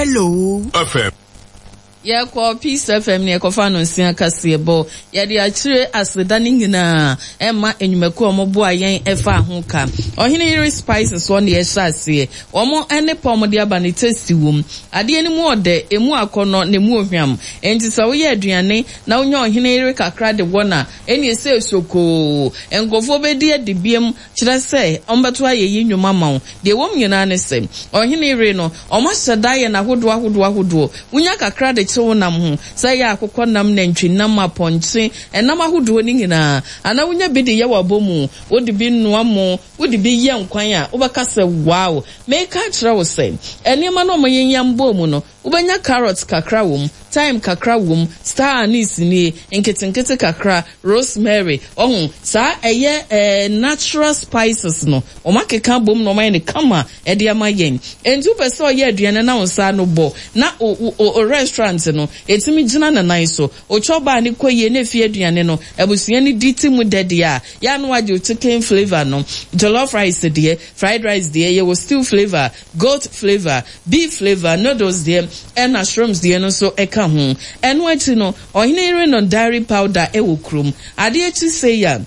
Hello FM. Yɛkɔ Peace FM ne yɛkɔfa no nsia kaseɛbɔ. Yɛde akyire aseda no nyinaa ɛma nnwumakuo a wɔboa yɛn ɛfa ho ka. Ɔhene Yere Spices hɔ na yɛhyɛ aseɛ. Wɔn ne pa a wɔde aba no tasty wom. Adeɛ no mu ɔdɛ, emu akɔnnɔ na emu ohwam. Enti sɛ woyɛ aduane na wonya Ɔhene Yere kakra de wɔ no a, ɛnneɛ sɛ sokoo. Nkurɔfoɔ bɛdi adi biam. Kyerɛ sɛ, wɔbɛto ayeyi nnwom ama wo. Deɛ ɛwom nyinaa ne sɛ, ɔhene yere no, wɔahyɛ da ayɛ no ahodoɔ ahodoɔ ahodoɔ. Wonya kakra de kye wo nam ho, sɛ ɛyɛ akokɔnam, nantwinam, apɔnkye, ɛnam ahodoɔ no nyinaa. Anaa wonya bi de yɛ w'abɔmu, wode bi noa mo, wode bi yɛ nkwan a, wobɛka sɛ, Wow! Mereka akyerɛ wo sɛ, nneɛma no a wɔyenyam bɔɔ mu no, Wobɛnya carrot kakra wom, thyme kakra wom, star anise nie, nketenkete kakra, rosemary, wahu, saa ɛyɛ eh, natural spices no, wɔn akeka abom na wɔn ayɛ no kama ɛde ama yɛn. Enti wopɛ sɛ ɔyɛ aduane na wo nsa ano bɔ, na o, o, o restaurant no, ɛtumi gyina ne nan so, o chop bar no kɔ yie na efie aduane no, abusua no di te mu dɛ deɛ a, yɛ a na wagye wo chicken flavour no, jollof rice deɛ, fried rice deɛ, yɛwɔ stew flavour, Goat flavour, beef flavour, noodles deɛ ɛna shrimps deɛ no nso ka ho. Ɛno akyi no, ɔhene yere no dairy powder wɔ kurom. Adeɛ kye sei a,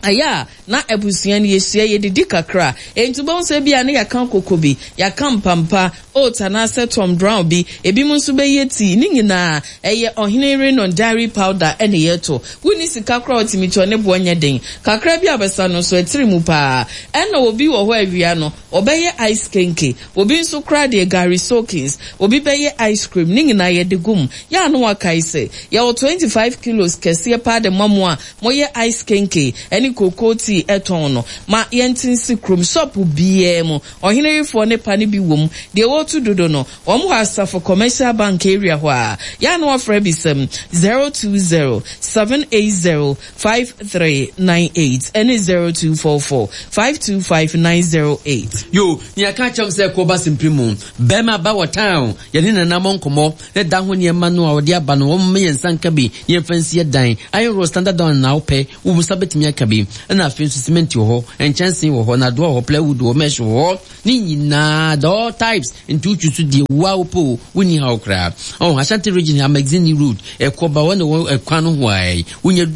ɛyɛ a na abusua no yɛhyia yɛdidi kakra. Enti wobɛhu sɛ ebia na yɛaka koko bi, yɛaka mpampa, oats anaasɛ Tom Brown bi, ebinom nso bɛyɛ tea. Ne nyinaa ɛyɛ ɔhene yere no dairy powder na yɛtɔ. Wonni sika koraa a wotumi tɔ, ne boɔ nyɛ den. Kakra bi a wobɛsa no nso, ɛtiri mu paa. Ɛna obi wɔ hɔ a awia no, Wɔbɛyɛ ice kenke, obi nso koraa deɛ gari soakings, obi bɛyɛ ice cream, ne nyinaa yɛde gu mu. Yɛ a na wakae sɛ, yɛwɔ 25 kilos kɛseɛ paa de ma mo a moyɛ ice kenke ne cocoa tea tɔn no. Ma yɛnte nsi kurom, shop biara mu, ɔheneyefoɔ ne pa no bi wɔ mu. Deɛ wɔretu dodo no, wɔn wɔ Asafo Commercial Bank area hɔ ara. Yɛ a na wafrɛ bisam, 020 780 5398 ɛne 0244 525 908. Yo, nea ka kyerɛ m sɛ kɔ ba simpiri mu. Bɛrima ba wɔ town, yɛne nana mɔ nkɔmmɔ, ne da ho nneɛma no a ɔde aba no, wɔn mma yɛn nsa nka bi na yɛmfa nsi yɛ dan. Iron rod standard down na wopɛ, wo nsa bɛtumi aka bi. Ɛna afei nso cement wɔ hɔ, nkyɛnsee wɔ hɔ, nadoa wɔ hɔ, plywood wɔ hɔ, mesh wɔ hɔ. Ne nyinaa, the all types, nti wotwi so deɛ wo a wopɛ o, wonni haw koraa. Oh, Ashanti region ha, Magazine Road, ɛkɔ ba wɔn na wɔ ɛkwan no ho a, wonya.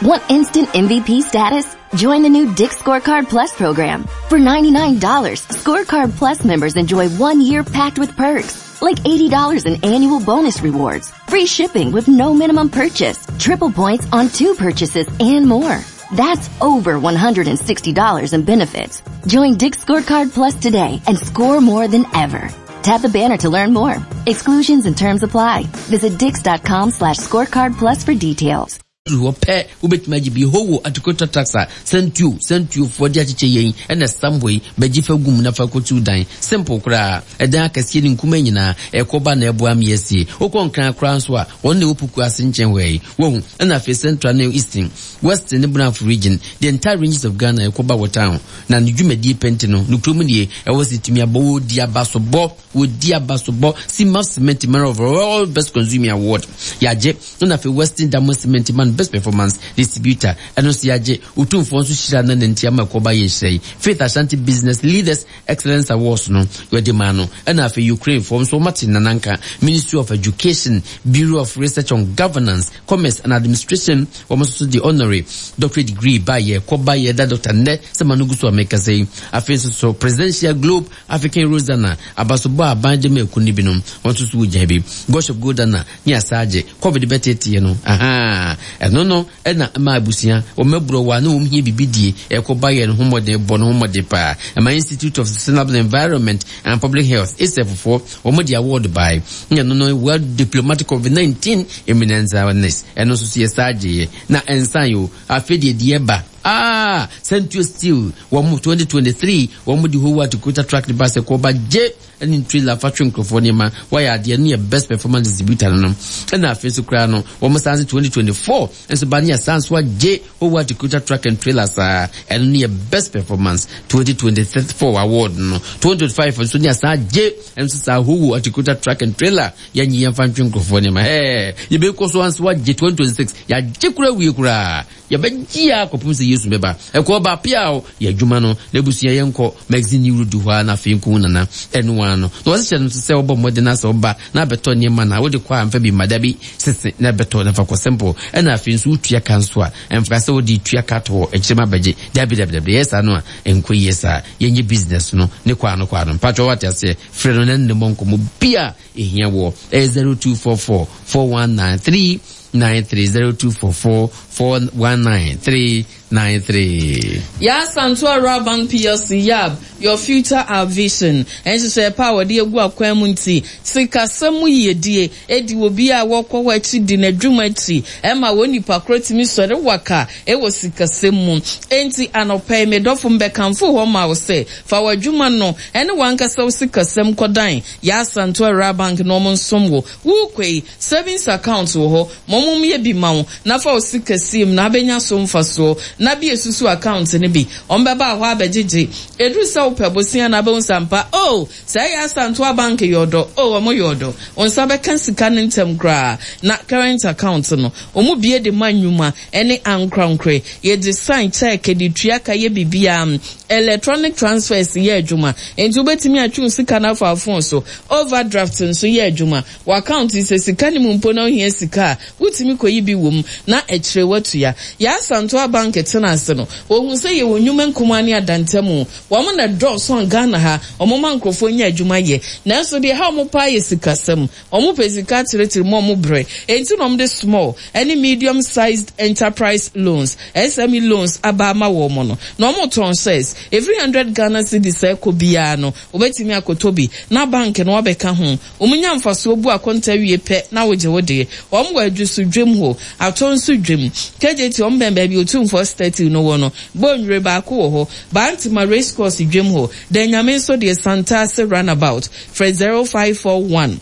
Want instant MVP status? Join the new Dick's Scorecard Plus program. For $99, Scorecard Plus members enjoy one year packed with perks, like $80 in annual bonus rewards, free shipping with no minimum purchase, triple points on two purchases, and more. That's over $160 in benefits. Join Dick's Scorecard Plus today and score more than ever. Tap the banner to learn more. Exclusions and terms apply. Visit dix.com slash scorecard plus for details. Duru hɔ pɛ, wobɛtumi agye bi. Howo, Atukota Tax a Sɛntuo, Sɛntuofoɔ de akyekyɛ yɛn ɛna ɛsam hɔ yi, bɛgye fa gu mu na fa kɔtu dan. Simple koraa. Ɛdan akɛseɛ ne nkumaa nyinaa, ɛkɔ ba na ɛboa me asie. Wokɔ Nkran koraa nso a, wɔn na ɛwɔ Puku ase nkyɛn hɔ yi. Wahu? Ɛna afei Central ne Eastern, Western ne Brafo region, the entire ranges of Ghana ɛkɔ ba wɔ town. Na ne dwumadie pɛ nti no, ne kurom nie, ɛwɔ sɛ ɛtumi abɔ, wɔdi abasobɔ, wɔdi abasobɔ, Cimaf Cement Man of All Best Consumer Award, yɛagye, ɛna afei Western Diamond Cement Man Best Performance Distributor, ɛno nso yɛagye, Otumfoɔ nso hyira no na nti ama ɛkɔ ba yɛ nhyira yi, Faith Ashanti Business Leaders Excellence Awards no, wɔde maa no, ɛna afei Ukraine foɔ nso wɔate nananka, Ministry of Education, Bureau of Research on Governance, Commerce and Administration, wɔn nso so de honorary doctorate degree baeɛ, kɔ baeɛ da doctor nnɛ sɛ ma no gu so a mekasa yi. Afei nso so Presidential Globe African Rosanna, abasobɔ a aban de ma akuo no binom, wɔn nso so wɔgyaa bi. Gush of Goldana ne Asaagye, Covid bɛteeteeɛ no, ahaa, ɛno no na ɛma abusua, wɔn aburɔ wɔ a na wɔn hia biribi die, ɛkɔ baeɛ no ho mmɔden bɔ no ho mmɔden paa. Ɛma Institute of Sustainable Environment and Public Health, ISEF foɔ, wɔn de award bae. Na ɛno no World Diplomatic Covid-19 Eminence Awareness, ɛno nso so yɛ saa gyeeɛ. Na ɛnsan o, afei deɛ deɛ ɛba, ah, Santio Steel, wɔn 2023, wɔn de Howard Toyota truck de ba sɛ kɔba gye ɛne trailer fa twe nkurɔfoɔ nneɛma, wɔayɛ adeɛ, ɛno yɛ best performance distributor no no. Ɛna afei nso koraa no, wɔn san se 2024 nso ba ne yɛsan so agye Howard Toyota truck and trailer saa, ɛno no yɛ best performance 2024 award no. 2025 nso ne yɛsan agye ɛno nso saa Howard Toyota truck and trailer, yɛnye yɛmfa ntwe nkurɔfoɔ nneɛma. Ɛɛ, yɛbɛkɔ so anso agye 2026, yɛagye koraa wie koraa, yɛbɛgye a kɔpem sɛ yɛ Yesu bɛba. Ɛkɔ ba piaw yɛ adwuma no na abusua yɛnkɔ magazine ne wuro du hɔ ara na afei nkohu nana ɛno ara no. Na wɔse hyɛ no nso sɛ wobɔ mmɔden na sɛ woba na abɛtɔ nneɛma no a wode kɔ a mfa bi mma dabi sese na bɛtɔ na fa kɔ simple ɛna afei nso wotua ka nso a ɛmfa sɛ wode tua ka to hɔ akyire ma bɛgye dabi dabi dabi ɛyɛ saa no a ɛnkɔ yie saa yɛnyɛ business no ne kɔ ano kɔ ano mpatwɔ wate aseɛ frɛ no na ne mmɔ nkɔmmɔ bi a ɛhia wɔ ɛyɛ 0244 419 393 0244 419 393. Yaa Asantewaa Rural Bank plc, YAB, Your Future Our Vision, nhyehyɛe pa a wɔde agu akwan mu nti, sikasɛm mu yiyedie di obiara a wɔkɔ hɔ akyi di n'adwuma akyi ma wɔn nipa korɔ tumi sɔre waka wɔ sikasɛm mu. Enti anɔpa yi, me dɔfo, mebɛkamfo hɔ ma wo sɛ fa w'adwuma no ne w'ankasa wo sikasɛm kɔdan Yaa Asantewaa Rural Bank na wɔnsom wo. Worekɔ yi, savings account wɔ hɔ. Ma wɔmmyɛ bi ma wo na fa wo sika sie mu na abɛnya so mfasoɔ. Na bue susu account no bi. Wɔbɛba hɔ abɛgyegye. Ɛduru sɛ wopɛ bosea no a, wobɛhu sɛ ampa, oh, saa Yaa Asantewaa Bank yɛ ɔdɔ, oh, wɔyɛ ɔdɔ. Wo nsa bɛka sika no ntɛm koraa. Na current account no, wɔbue de ma nnwuma ne ankorankorɛ. Yɛgye sign, cheque, de tua ka, yɛ biribiara. Electronic transfers yɛ adwuma, enti wobɛtumi atwe wo sika no afa wo phone so. Overdraft nso yɛ adwuma. W'account yi, sɛ sika nni mu mpo na wohia sika a, wotumi kɔyi bi wɔ mu na akyire woatua. Yɛn Asantewa Bank tena ase no, wɔhuu sɛ yɛwɔ nnwuma nkumaa ne adantamu. Wɔn na ɛdɔɔso a Ghana ha, wɔma nkurɔfoɔ nya adwuma yɛ. Nanso deɛ ɛha wɔn paa yɛ sikasɛm. Wɔpɛ sika akyerɛkyerɛ mu a wɔbrɛ. Enti na wɔde small ne medium sized enterprise loans, SME loans, aba ama wɔn no. Na wɔtɔn shares. Ɛfiri hundred Ghana cedis rekɔ biara no, wobɛtumi akɔtɔ bi na bank no abɛka ho. Wɔnya mfasoɔ bu akonta wie pɛ na wogye wo deɛ. Wɔn wɔ Adwoso dwam hɔ, Atɔnso dwam, KJT wɔn bɛn baabi Otumfoɔ statue no wɔ no, Bonwire baako wɔ hɔ, Bantama race course dwam hɔ, Danyame nso deɛ Santase runabout. Frɛ 0541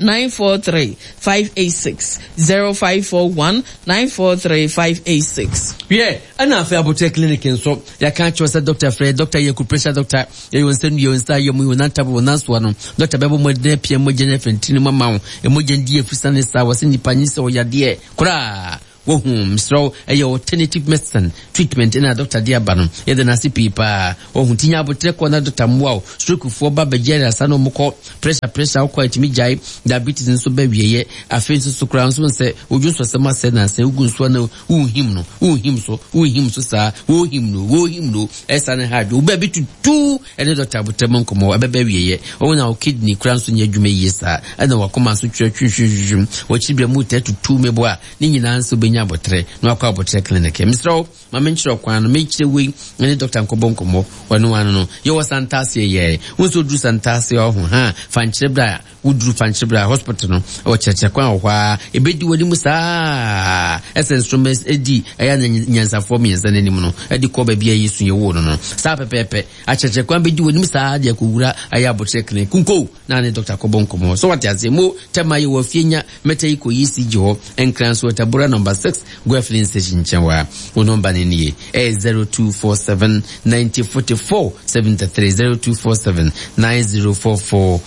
943 586, 0541 943 586. Wiɛ, ɛna afei Aboterɛ Clinic nso, yɛaka akyerɛ wo sɛ dɔkta frɛ, dɔkta yɛ acupressure dɔkta, yɛyɛ wo nsa nnua, wo nsa ayɛ mu, wo nan tabo, wo nan soa no, dɔkta bɛbɔ mmɔden apia mogya no afiri ntini mu ama wo, mogya no di afusane saa, wɔse nnipa nyi sɛ ɔyadeɛ koraa. Wohu, mesrɛ wo, ɛyɛ alternative medicine treatment na dɔkta de aba no. Yɛda no ase pii paa. Wohu, nti nya aboterɛ kɔ na dɔkta mmoa wo. Stroke foɔ ba bɛgye ayaresa na wɔn kɔ. Pressure pressure wokɔ a ɛtumi gyae. Diabetes nso ba awieɛ. Afei nso so koraa nso sɛ wodwo nsɔsɛm asɛe na sɛ wogu nsuo na wohim no, wohim so, wohim so saa, wohim no, wohim no, ɛsa ne ha adwo. Wo baabi tutu ɛne dɔkta aboterɛ mu nkɔmmɔ ɛbɛba awieɛ. Wohu na wo kidney koraa nso nyɛ adwuma yie saa. Ɛna wakoma nso twerɛ twihwihwihwim. Wɔkyiri bia mu taa tutu meboa. Ne nyinaa nso wobɛnya aboterɛ na wakɔ aboterɛ clinic. Mesrɛ wo, ma menkyerɛ wo kwan no, mekyerɛ wei ne dɔkta nkɔbɔ nkɔmmɔ. Ɔno ano no, yɛwɔ Santase yɛɛ. Wo nso woduru Santase ɔho ha, fankyerɛ berɛ a woduru fankyerɛ berɛ a hospital no, ɛwɔ kyerɛkyerɛ kwan wɔ hɔ a, ɛbɛdi w'anim saa ɛsɛ nsoroma ɛdi ɛyɛ na nyansafoɔ mmiɛnsa no anim no, ɛde kɔ baabi a Yesu yɛwoo no no. Saa pɛpɛɛpɛ, akyerɛkyerɛ kwan bɛdi w'anim saa de akɔwura ɛyɛ aboterɛ clinic. Kunko! na ne dɔkta kɔbɔ nkɔmmɔ. So wate aseɛ? Mo tɛma yɛwɔ afie nya mɛtɛ yi kɔ ECG hɔ, Nkran so Tabora number 6 Goa filling station nkyɛn hɔ a. Wo nɔmba no nie, ɛyɛ 0247 90 44 73, 0247 90 44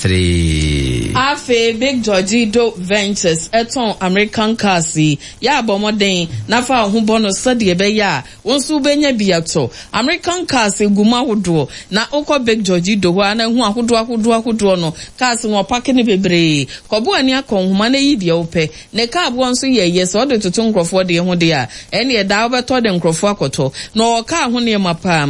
73. Afei Big Georgie Do Ventures tɔn American cars yi. Yɛ a bɔ mmɔden na fa wo ho bɔ no sɛdeɛ ɛbɛyɛ a Wo nso wobɛnya bi atɔ. American cars gu mu ahodoɔ. Na wokɔ Big George Do hɔ a na ahu ahodoɔ ahodoɔ ahodoɔ no. Cars no wɔpake no bebree. Kɔbo ani akɔ nhoma na yi deɛ wopɛ. Ne car boɔ nso yɛ yɛ sɛ wode toto nkurɔfoɔ deɛ ho deɛ a, ɛnneɛ daa wobɛtɔ de nkurɔfoɔ akɔtɔ. Na ɔwɔ car ho nneɛma paa.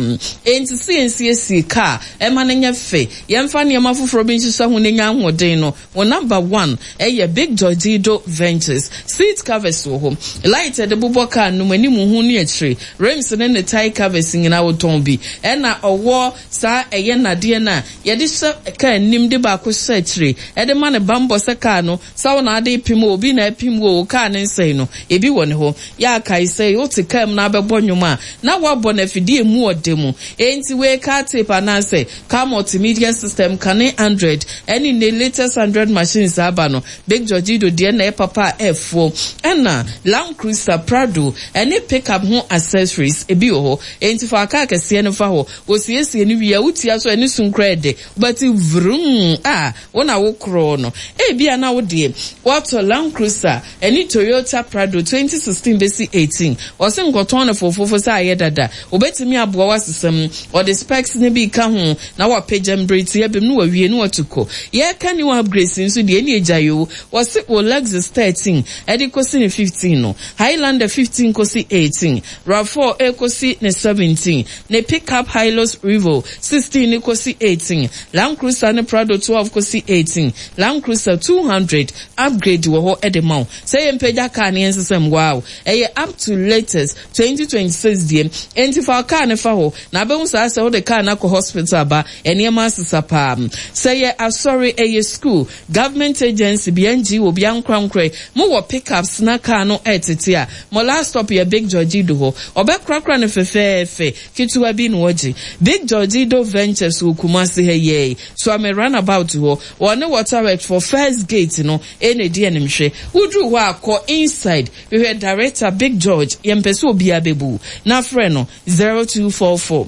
Enti sɛ yɛnsiesie car ma no nyɛ fɛ, yɛmfa nneɛma foforɔ bi nhyehyɛ ho na ɛnya ahoɔden no, Wo number one yɛ Big Georgido Ventures. Seat covers wɔ hɔ. Light a yɛde bobɔ car no mu, anim ho ne akyire, rims ne ne tyre covers nyinaa wotɔn bi. Ɛna ɔwɔ saa ɛyɛ nnadeɛ no a yɛde hyɛ car anim de baako hyɛ akyire de ma no bammɔ sɛ car no sɛ wo na wode repem o, obi na repem wo o, wo car no nsɛe no. Ebi wɔ ne hɔ. Yɛ a kae sɛ wote car mu na wobɛbɔ nnwom a na woabɔ no afidie a emu ɔdɛ mu. Enti wei car tape anaasɛ Car multimedia system kane Android ɛne nnɛ latest Android machines a aba no, Big Georgido deɛ na ɛyɛ papa a ɛfoɔ. Ɛna Land Cruiser, Prado ɛne pickup ho accessories ebi wɔ hɔ. Enti fa car kɛseɛ no fa hɔ. Wɔsiesie no wie a wotia so a ɛne sum koraa ɛdɛ. Wobɛte vroom a wo na wo korɔ no. Ebia na wo deɛ woatɔ Land Cruiser ɛne Toyota Prado 2016 bɛsi 18. Wɔse. Wɔse nkɔtɔn no fofofo sɛ ayɛ dada. Obetumi aboa wo asesa mu. Ɔde specs no bi ka ho na wapagya mu bere tiaa bi mu na wawie na watu kɔ. Yɛreka new upgrades nso deɛ, ɛnneɛ gyae oo. Wɔse wo Lexus 13 de kɔsi ne 15 no, Highlander 15 kɔsi 18, Rav4 rekɔsi ne 17, ne pickup Hilux Revo 16 no kɔsi 18, Land Cruiser ne Prado 12 kɔsi 18, Land Cruiser 200 upgrade wɔ hɔ de ma wo. Sɛ yɛmpagya car no yɛnsesa mu, wow! Ɛyɛ up to latest 2026 deɛ. Enti fa wo car no fa hɔ na abɛhu saa sɛ wode car no akɔ hospital aba, nneɛma asesa paa. Sɛ ɛyɛ asɔre, ɛyɛ school, government agency bi, NGO bi, ankorankorɛ, mowɔ pickups na car no ɛretete a, mo last stop yɛ Big Georgido hɔ. Ɔbɛkorakora no fɛfɛɛfɛ, ketewa bi na ɔgye. Big Georgido Ventures wɔ Kumasi ha yi ara yi, Suame Runabout hɔ. Wɔne Waterworks for first gate no na ɛdi animhwɛ. Woduru hɔ a, kɔ inside, hwehwɛ director Big George, yɛmpɛ sɛ obiara bɛbu wo, na frɛ no 0244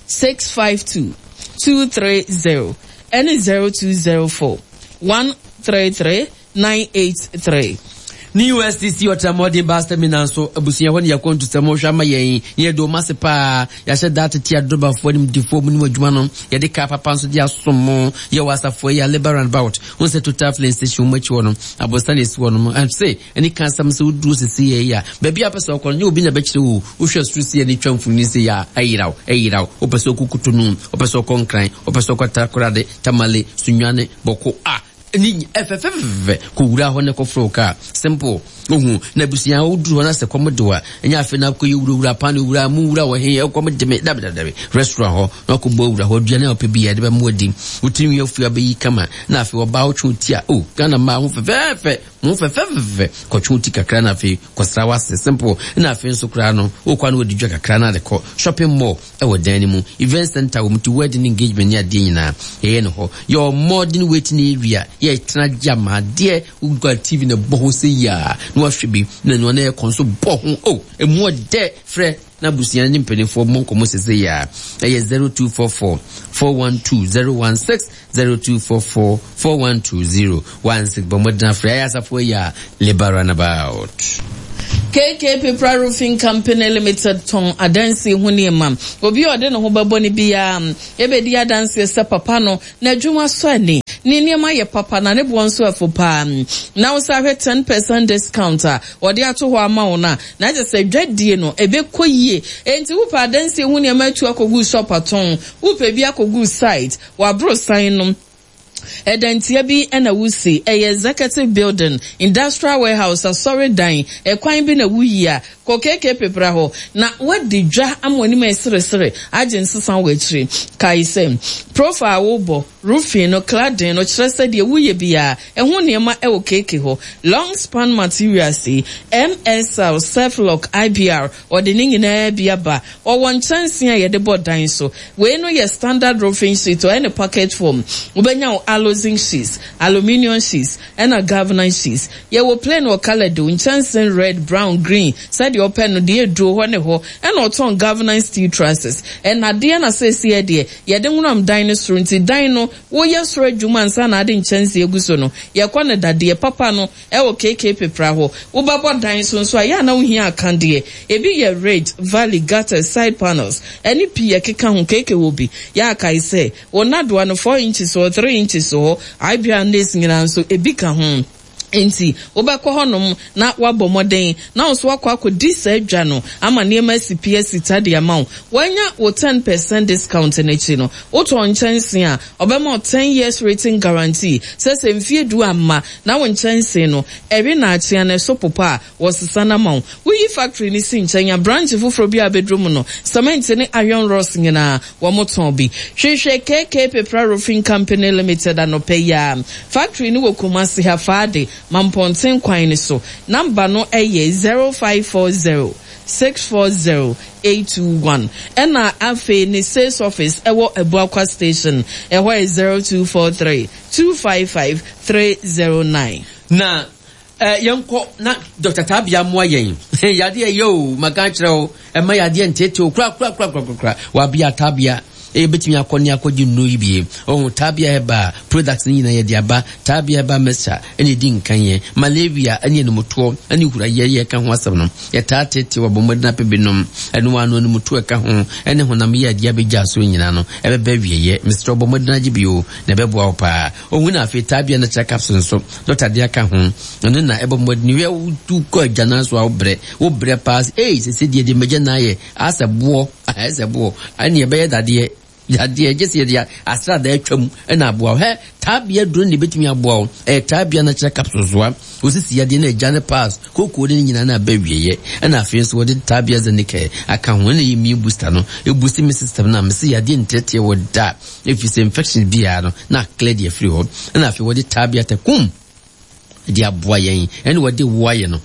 652 230 ɛne 0204 133 983. Ne USTC Ɔtramɔden Bus Terminal nso, abusua hɔ ne yɛakwantusɛm hwɛ ama yɛn. Yɛn de wɔn ase paa. Yɛahyɛ da atete adrɔbafoɔ animdefoɔ mu ne wɔn adwuma no. Yɛde kaa papa nso de asom mo. Yɛwɔ asafo yi a Labour Roundabout, wohu sɛ Total Filling Station wɔn akyi hɔ no, aborosan na esi hɔ nom. Ɛse, ɛne ka asɛm sɛ woduru sisi yɛ yi a, baabi a wopɛ sɛ wokɔ no, nyɛ obi na ɛbɛkyerɛ wo. Wohwɛ soro si ani twa mfonini sei a, ɛyera wo, ɛyera wo. Wopɛ sɛ wokɔ Cotonou, wopɛ sɛ wokɔ Nkran, wopɛ sɛ wokɔ Takoradi, Tamale, Sunyani, Bawku, ah! Ne ɛfɛfɛfɛfɛ kɔ wura hɔ na kɔfrɛ wo kaa simple ohu na abusua woduru hɔ na sɛ kɔm de wa ɛnyɛ afei na akɔyɛ wurawura pan wura mu wura wɔ he ɛkɔm de me dabi dabi dabi restaurant hɔ na akɔbɔ awura hɔ aduane a ɔpɛ bi yɛde bɛmo adi wotiri nwi afu abɛyi kama na afei ɔbaa wotwe wo ti a o Ghana mmaa ho fɛfɛɛfɛ mo fɛfɛɛfɛ kɔtwe wo ti kakra na afei kɔsra w'ase simple na afei nso koraa no wokɔ na wɔdi dwa kakra na de kɔ shopping mall ɛwɔ dan no mu, event center wɔ mu nti wedding ne engagement ne adeɛ nyinaa yɛyɛ no hɔ. Yɛwɔ modern waiting area, yɛtena gye ama adeɛ, wokura TV na ɛbɔ ho sɛ yia na wahwɛ bi na nea ɔno ɛkɔ nso bɔ ho, oh emu ɔdɛ frɛ na abusua ne mpanimfoɔ mmɔ nkɔmmɔ sese yia ɛyɛ 0244 412 016 0244 412 016 bɔ mmɔden afrɛ ayɛ asafo ayi a Labour Runabout. KK Pepra Roofing Company Limited tɔn adansie ho nneɛma. Obi a ɔde ne ho bɛbɔ no biara bɛdi adanseɛ sɛ papa no, n'adwuma sɔ ani, ne nneɛma yɛ papa na ne boɔ nso ɛfo paa. Na wo san hwɛ ten percent discount a wɔde ato hɔ ama wo no a, na kyerɛ sɛ dwadie no ɛbɛkɔ yie. Enti wopɛ adansie ho nneɛma atu akɔgu shop atɔn, wopɛ bi akɔgu site, w'aborosan no, Ɛdantia bi na wusi, ɛyɛ executive building, industrial warehouse, asɔredan, ɛkwan bi na wuyi a, kɔ KK Pepra hɔ na woadi dwa ama w'anim ayɛ seresere agye nsesa wɔ akyiri. Kae sɛ, profile a wobɔ, roofing no, cladding no, kyerɛ sɛ deɛ woyɛ biara, ɛho nneɛma wɔ KK hɔ. Long span materials yi, MSL, Surflock, IBR, Ɔde ne nyinaa bi aba. Ɔwɔ nkyɛnsee a yɛde bɔ dan so. Wei no yɛ standard roofing sheet, ɔyɛ no package form. Wobɛnya wo alozinc sheets, aluminium sheets, ɛna galvanized sheets. Yɛwɔ plain wɔ colour do, nkyɛnsee red, brown, green, sɛdeɛ wopɛ no, deɛ ɛduro hɔ ne hɔ. Ɛna ɔtɔn galvanized steel trusses. Nnadeɛ na seesei deɛ, yɛde nwonam dan no soro nti dan no, woyɛ soro adwuma ansa na ade nkyɛnsee agu so no, yɛkɔ no dadeɛ papa no. Ɛwɔ KK Pepra hɔ. Wobɛbɔ dan so nso a, ɛyɛ a na wohia akadeɛ. Ebi yɛ ridge, valley, gutters, side panels, ɛne pii ɛkeka ho. KK wɔ bi. Yɛ a kae sɛ, wo nnadewa no, four inches wɔ hɔ, three inches wɔ hɔ, IBR nails nyinaa nso, ebi ka ho. Enti, wobɛkɔ hɔnom na woabɔ mmɔden na wo nso woakɔ akɔdi saa dwa no ama nneɛma asi pi asi ta de ama wo. Woanya wo ten percent discount no akyi no, wotɔn nkyɛnsee a, ɔbɛma wo ten years written guarantee sɛ sɛ mfeɛ du amma na wo nkyɛnsee no ɛwe na akyea na ɛso popa a, wɔsesa no ama wo. Woyi factory no si nkyɛn a, branch foforɔ biara a bɛduru mu no, cement ne iron rods nyinaa, wɔtɔn bi. Hwehwɛ KK Pepra Roofing Company Limited anɔpa yi ara. Factory no wɔ Kumasi ha, Faade, Mampɔnten kwan no so. Number no yɛ 0540 640 821. Ɛna afei ne sales office ɛwɔ Abuakwa Station, ɛhɔ yɛ 0243 255 309. Na eh, yɛnkɔ na Dr. Tabia mmoa yɛn. Yadeɛ yɛ o, maka akyerɛ wo, ɛma yadeɛ nteetee o, kora kora kora kora kora. Wabea Tabia. Yɛbɛtumi akɔ ne akɔgye nnuro yi bi. Ɔho Tabia Herbal products no nyinaa yɛde aba. Tabia Herbal Mixture ɛna ɛdi nkan yɛ. Malaria ɛne animutoɔ ɛne hurayɛ yɛka ho asɛm no. Yɛtaa teetee wɔ abɔ mmɔden apɛ bi nom. Ɛno ara no animutoɔ ɛka ho ɛne honam yɛ adeɛ abɛgya so nyinaa no ɛbɛba awieɛ. Mesrɛ wo bɔ mmɔden agye bi o na ɛbɛboa wo paa. Ɔhu na afei Tabia Natural Capsule nso dɔkta de aka ho. Ɛno na ɛbɔ mmɔden hwɛ wotu kɔ agyanan so a wobrɛ. Wobrɛ paa sɛ ei sese deɛ deɛ magya ayɛ asɛ boɔ asɛ boɔ ɛne ɛbɛyɛ dadeɛ dadeɛ gye sɛ yɛde asradaa atwam ɛna aboa wo hɛ taabea duro ne bɛtumi aboa wo ɛyɛ taabea no kyerɛ capsule soa osisi yadeɛ no agya ne pass kookoo ne nyinaa na abɛ wieɛ ɛna afei nso wɔde taabea zenikɛ aka ho ɛna yɛ immune booster no ɛbusi me system no a mese yadeɛ nteɛteɛ wɔ da ɛfiri sɛ infection biara no na aklɛ deɛ afiri hɔ ɛna afei wɔde taabea takum de aboa yɛn ɛne wɔde wo ayɛ no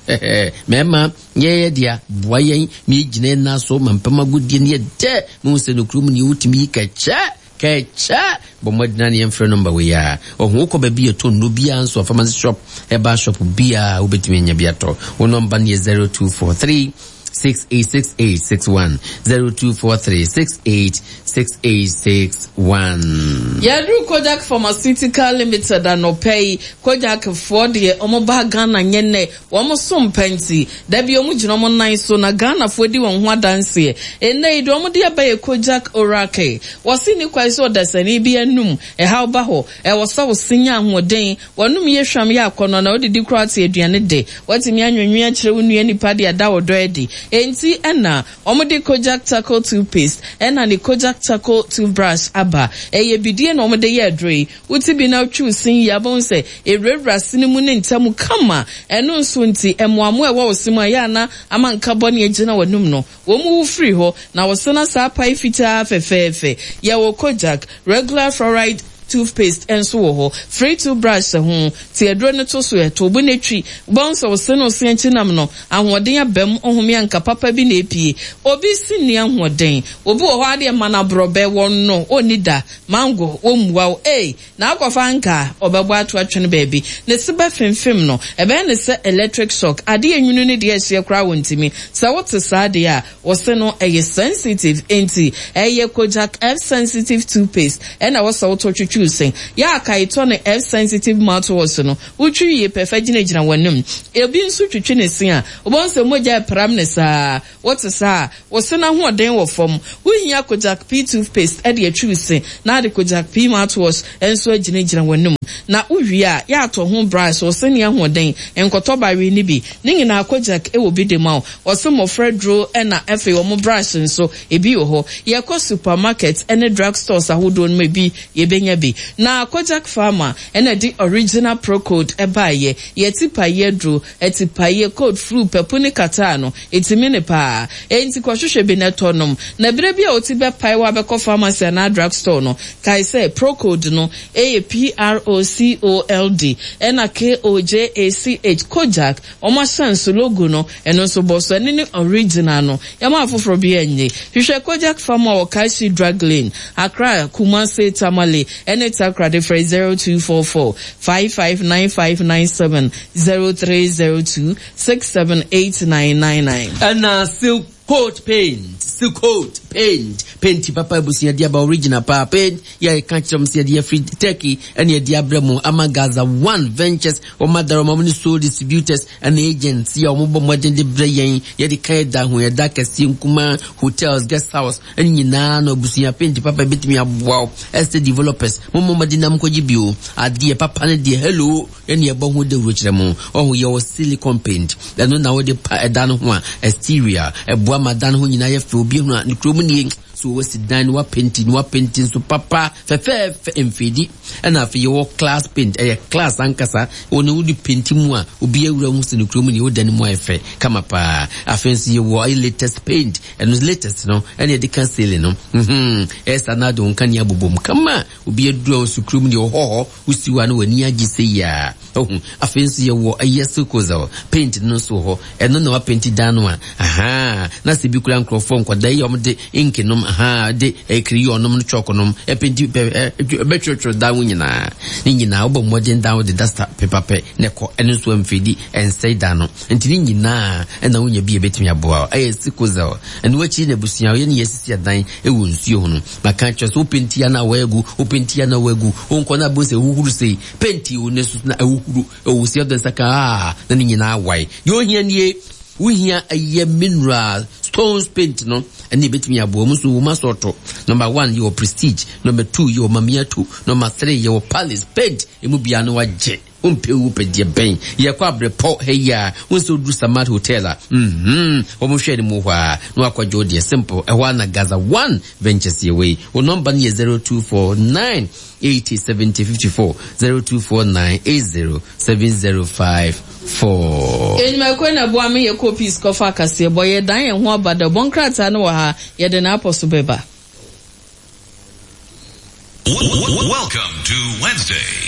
mɛma yɛyɛ dea boa yɛn ma yɛgyina yɛn nan so ma mpam agodie no yɛ dɛ mehu sɛ nokorɛ mu ne wotumi yi kɛkyɛ kɛkyɛ bɔ mmɔdena ne yɛmfrɛ nɔmba wei a ɔho wokɔ baabi yɛtɔ nnuro biara nso a pharmacy shop herbal shop biara wobɛtumi anya bi atɔ wo nɔmba no yɛ 0243 686861 0243 686861. Yɛaduru Kojak Pharmaceutical Limited anɔpa yi. Kojak foɔ deɛ wɔn baa Ghana nyɛ nnɛ, wɔn som pa nti, da bi wɔn gyina wɔn nan so na Ghana foɔ di wɔn ho adanseɛ. Nnɛ yi deɛ wɔn de aba yɛ Kojak Oral Care. Wɔse nni kwan sɛ ɔdasani bi anum ɛhaw ba hɔ, ɛwɔ sɛ wo se nya ahoɔden, W'anom yɛ hwam yɛ akɔnnɔ, na wodidi koraa te aduane de. Woatumi anwenwene akyerɛ wo nua nipa de ada ɔdɔ adi. Enti na wɔde Kojak Charcoal Toothpaste ɛna ne Kojak Charcoal Toothbrush aba. Ɛyɛ bidie na wɔde yɛ aduro yi. Wote bi na wotwi wo se yie a, wobɛhu sɛ ɛwurawura se no mu ne ntamu kama. Ɛno nso nti, mmoammoa a ɛwɔ wo se mu a ɛyɛ a na ama nka bɔne agyina w'anom no, Wɔn wu firi hɔ, na wɔsan asa apae fitaa fɛfɛɛfɛ. Yɛwɔ Kojak regular fluoride toothpaste nso wɔ hɔ. Free toothbrush hyɛ ho. Te aduro no to so ɛ, to bo na twi. Wobɛhu sɛ wo se ne wo se akyi nam no, ahoɔden aba mu, ɔhome a nka papa bi na epue. Obi se nni ahoɔden. Obi wɔ hɔ ara deɛ ma no aborɔbɛ, wɔnno, ɔnni da. Mango, wɔmmua wo. Ei! Na akɔfa anka a, ɔbɛbɔ ato atwene baabi. Ne se bɛfemfem no. Ɛbɛyɛ no sɛ electric shock. Adeɛ nwunu ne deɛ ɛhyeɛ koraa wɔntumi. Sɛ wote saa deɛ a, wo se no ɛyɛ sensitive. Enti ɛyɛ Kojak F Sensitive Toothpaste ɛna ɛwɔ sɛ wotɔ twitwi wo se. Yɛ a kae tɔ ne F Sensitive Mouthwash no. Wotwi wie pɛ fa gyinagyina w'anom. Ebi nso twitwi ne se a, wobɛhu sɛ mogya repram no saa. Wote saa a, wo se no ahoɔden wɔ fam. Wuhia Kojak P toothpaste de atwi wo se, na ade Kojak P mouthwash nso agyinagyina w'anom. Na wuwie a, yɛ atɔ ho brush, wo se nni ahoɔden, nkɔtɔ bawee no bi. Ne nyinaa Kojak wɔ bi de ma wo. Wɔse mmɔfra aduro na afei wɔn brush nso, ebi wɔ hɔ. Yɛkɔ supermarket ne drug stores ahodoɔ no mu ebi, yɛbɛnya bi. Na Kojak Pharma na ɛde original Procold baeɛ. Yɛn tipaeɛ aduro, Atipaeɛ, cold, flu, papu ne catarrh no, ɛtumi ne paa. Enti kɔhwehwɛ bi na tɔ nom. Na berɛ bi a wo ti bɛpae wo a bɛkɔ pharmacy anaa drug store no, kae sɛ Procold no yɛ P-R-O-C-O-L-D ɛna K-O-J-A-C-H, Kojak, wɔn ahyɛnso, logo, no, ɛno nso bɔ so. Ɛno ne original no. Yɛma afoforɔ bi nnye. Hwehwɛ Kojak Pharma wɔ Kashi Drug Lane, Accra, Kumasi, Tamale, ɛne Takoradi frɛ 0244 559597. 0302 678999. Ɛna silk coat paint, silk coat paint, paint papa abusua de aba original paa paint yɛ ka kyerɛ m sɛ yɛde afiri Turkey ɛne yɛde abrɛ mu ama Gaza One Ventures wɔn adara wɔn ne sole distributors ɛne agents yɛ wɔn bɔ mmɔden de brɛ yɛn yɛde ka yɛda ho yɛda kɛseɛ nkumaa hotels guest house ɛne nyinaa no abusua paint papa betumi aboa wo estate developers mo mmɔden nam kɔgye bio adeɛ papa ne deɛ hello Ɛne ɛbɔ ho dawuro kyerɛ mo. Ɔho yɛwɔ silicone paint. Ɛno na wode pa ɛdan no ho a, exterior, ɛboa ma dan no ho nyinaa yɛ fɛ. Obi hunu a, ne kurom nie. So wasi dan no, wapenti no, wapenti nso papa, fɛfɛɛfɛ, mfeedi. Ɛna afei yɛwɔ class paint, ɛyɛ class ankasa. Wɔn wode penti mu a, obi awura hu sɛ ne kurom nie, wo dan no mu ayɛ fɛ, kama paa. Afei nso yɛwɔ ayɛ latest paint, ɛno latest no, ɛna yɛde ka ceiling no. Mhm, ɛyɛ saa na ade wo nkanea bobom kama. Obi aduru a ɔsi kurom deɛ ɔhɔ hɔ. Wosi hɔ a na w'ani agye sɛ yi a. Ohu. Afei nso yɛwɔ ɛyɛ silkozel paint no nso wɔ hɔ. Ɛno na wapenti dan no a. Ahaa. Na sɛ bi kura nkurɔfoɔ nkwadaa yi a wɔde ink nom. ahaa de crayon nom no chalk nom ɛpenti pɛ ɛbɛtwerɛtwerɛ dan ho nyinaa. Ne nyinaa wobɔ mmɔden dan wo de duster pepa pɛ na ɛkɔ ɛno nso ɛmfeedi ɛnsɛe dan no. Nti ne nyinaa ɛna wonya bi a ɛbɛtumi aboa wo. Ɛyɛ sikozel. Ɛno akyi na abusua yɛne yɛasisi adan ɛwɔ nsuo ho no. Maka akyerɛ sɛ wo penti a na wɔagu, wo penti a na wɔagu, wonkɔ na abɛhu sɛ ɛhuhuru sei. Penti wo ne so na ɛhuhuru. Ɛwɔ sɛ ɔde nsa ka a na ne nyinaa wae. Deɛ ohia nie, wohia ɛyɛ mineral stones paint no ɛne ebetumi aboa mu nso wɔn asɔɔto. Number one yɛwɔ prestige, number two yɛwɔ mamiato, number three yɛwɔ palace paint. Emu biara no wagye. Wompɛ wu pɛ deɛ bɛn. Yɛkɔ abrepɔ ha yi a, wohu sɛ woduru Samad Hotel a, mm-hmm, wɔn hwɛ ne mu hɔ a, na wakɔgye wo deɛ simple. Ɛhɔ a na Gaza One Ventures yɛ wei. Wo nɔmba no yɛ 0249 80 70 54, 0249 80 70 54. Enyimako na boa me yɛkɔ Peace kɔfa akaseɛbɔ. Yɛdan yɛn ho aba dɛ ɔbɔ nkrataa no wɔ ha, yɛde n'apɔ so bɛba. Welcome to Wednesday.